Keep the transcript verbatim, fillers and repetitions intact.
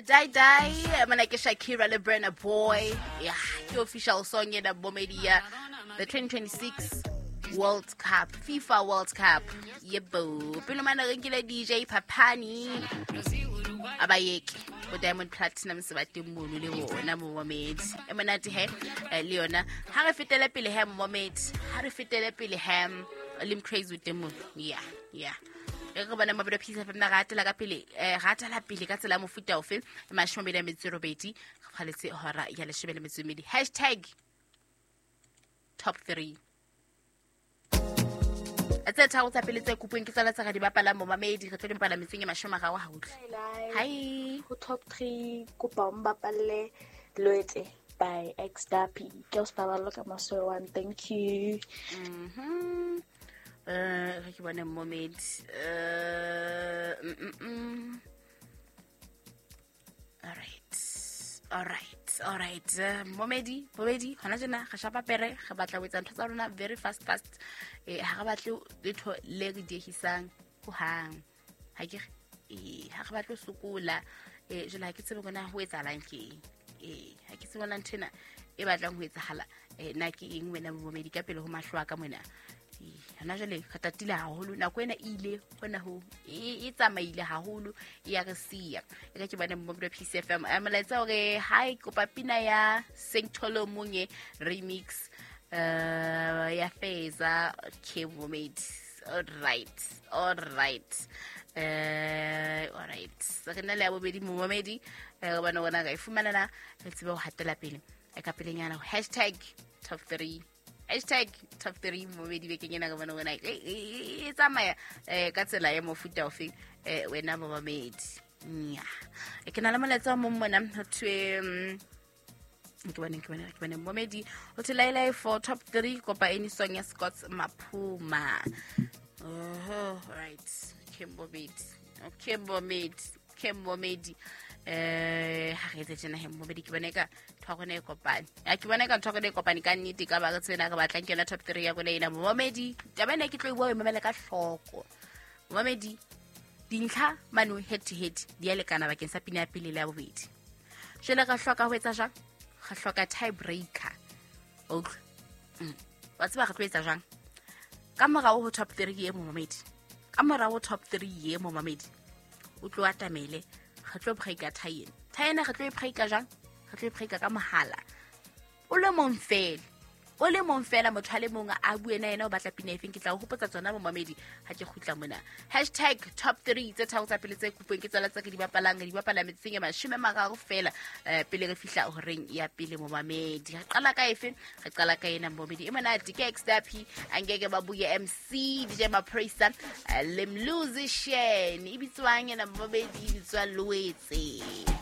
Die Die mana ke Shakira le Burna Boy. Yeah, ke official song ena bomedia the twenty twenty-six World Cup, FIFA World Cup. Yebo. Pele mana re nkile D J Papani abayeke bo Diamond Platinum se ba teng mono le bona momedi. E monate he le yona. Ha re fetele pele he momedi. Ha re fetele pele he Lim Crazy with them. Yeah, yeah. Re bona mabelo Peace F M na ratela ka pele eh ratela pele ka tsela mofuta ofe mashome a metso robedi re phaletse hora ya leshome le metso e mmedi hashtag top three tse tharo tsa pele tse kopong ke tsala tsa ga di bapala mo mamedi re tlo di bapala metseng e mashome a mararo ha utlwe. Hi ho top three kopa o mbapalle Loetse by X-Dappy ke o spaballo ka maso one. Thank you. Mhm. Eh uh, ke bone momedi eh mm mm. All right. All right. All right. Uh, momedi, momedi, hona tjena re shapa pere, re batla ho etsa ntho tsa rona very fast fast. Eh ha re batle letho le re diehisang ho hang. Ha ke eh ha re batle sokola. Eh jela ha ke tsebe bona ho etsahalang ke. Eh ha ke tsebe bona nthena e batlang ho etsahala. Eh na ke eng wena momedi ka pele ho mahlo a ka mona. Hona jwale re tatile haholo nako ena e ile hona ho e tsamaile haholo e ya re siya e ka ke bone mo Peace F M molaetsa hore hi kopa pina ya Sengtholo Monye remix uh ya Feza ke momedi. All right, all right. Eh all right re na le ya bobedi momedi re bona bona ga e fumana na re tsebe ho hatela pele e ka pelenyana hashtag top three hashtag top three momedi bekeng ena ka bona wena e tsamaya ka tsela ya mofuta ofe wena momedi. Nya ke na le molaetsa mo mona ho thwe ke bone ke bone ke bone momedi ho thwe Laila for top three kopa any song ya Scott Maphuma. Oh right, ke momedi, okay momedi, ke momedi. Eh ha re tse tjena he momedi ke bone ka ntho ya rona e kopane. Ya ke bona ka ntho ya rona e kopane ka nnete ka ba re tsena re batlang ke yona top three ya rona ena momedi. Taba ena ke tlo e bua e mamele ka hloko. Momedi dintlha mano head to head di a lekana bakeng sa pina ya pele le ya bobedi. Jwale re hloka ho etsa jwang? Re hloka tie breaker. Okay. Mm. Wa tseba re tlo etsa jwang? Ka morao ho top three ye momedi. Ka morao ho top three ye momedi. O tlo atamele re tlo breaker tie ena. Tie ena re tlo e breaker jwang? Re tlo e breaker ka mohala. O le mong fela. O le mong fela motho a le mong a bue na yena o batla pina efeng ke tla o hopotsa tsona momamedi ha ke kgutla mona. Hashtag top three tse tharo tsa pele tse kopong ke tsela tse ke di bapalang di bapala metseng e mashome a mararo fela pele re fihla horeng ya pele momamedi. Re qala ka efe? Re qala ka ena momamedi. E monate ke X-Dappy angeke ba buye M C D J Maprisa le Musician e bitswang ena momamedi e bitswa Loetse.